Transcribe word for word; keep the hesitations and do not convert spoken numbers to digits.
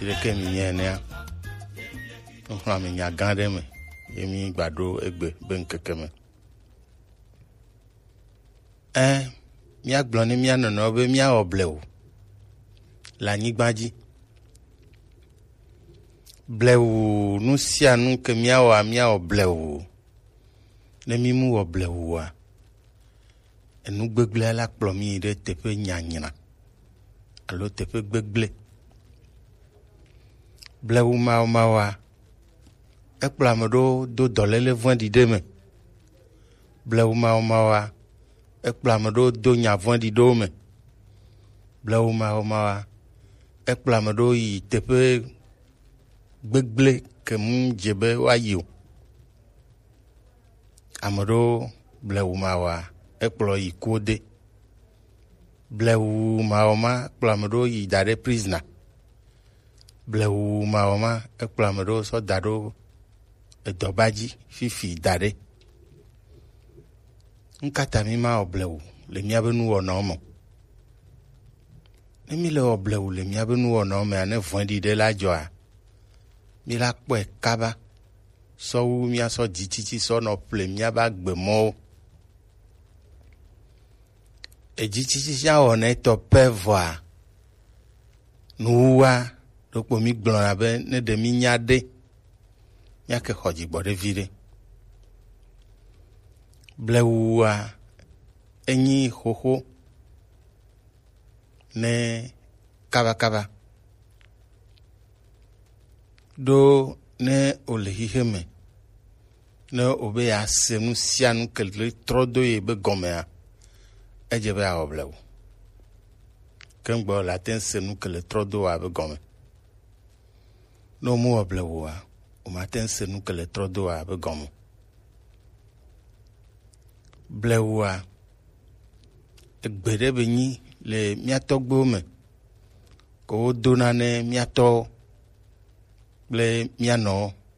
Ɖeke mi nye enea. Nuxlɔ̃ame nya gã ɖe me ye mi gba ɖo egbe be ŋkeke me. Ɛ, míagblɔ ne mía nɔnɔewo be míawɔ blewu le anyigba dzi. Blewu, nu sia nu ke míawɔa, míawɔ blewu. Ne mímu wɔ blewua, enu gbegblẽ la kplɔ mí yi ɖe teƒe nyanyra alo teƒe gbegblẽ. Blewu mawɔmawɔa, ekplɔ ame ɖewo do dɔléle vɔ̃ɖi ɖe me. Blewu mawɔmawɔa, ekplɔ ame ɖewo do nya vɔ̃ɖi ɖewo me. Blewu mawɔmawɔa, ekplɔ ame ɖewo yi teƒe gbegblẽ ke mu dze be woayi o. Ame ɖewo blewu mawɔa, ekplɔ yi kuwo de. Blewu mawɔma kplɔ ame ɖewo yi da ɖe prizna. Blewu mawɔma ekplɔ ame ɖewo sɔ da ɖo edɔba dzi fifi da ɖe. Nukata mí ma wɔ blewu le míabe nuwɔnawo me? Ne mí le wɔ blewu le míabe nuwɔnawo mea, ne vɔ̃ɖi ɖe la dzɔa, mí la kpɔe kaba sɔ wu míasɔ dzitsitsi sɔ nɔ ƒle míabe agbemɔwo. Edzitsitsi sia wɔna etɔ pɛ vɔa, nuwuwa ɖokpo mí gblɔna be ne ɖe mí nya ɖe, míake xɔ dzigbɔ ɖe viɖe. Blewua enyi xoxo ne kabakaba. Ɖo ne wòle xixe me, ne wòbe yease nu sia nu ke le trɔ do ye be gɔmea, edze be yeawɔ blewu. Ke ŋgbe wòle ate ŋu se nu ke le trɔ do wa be gɔme. Ne wòmewɔ blewua, wòmate ŋu se nu ke le trɔ do wa be gɔme. Blewua, egbe ɖe be nyi le mía tɔgbuiwo me, ke wodona ne mía tɔwo kple mía nɔwo.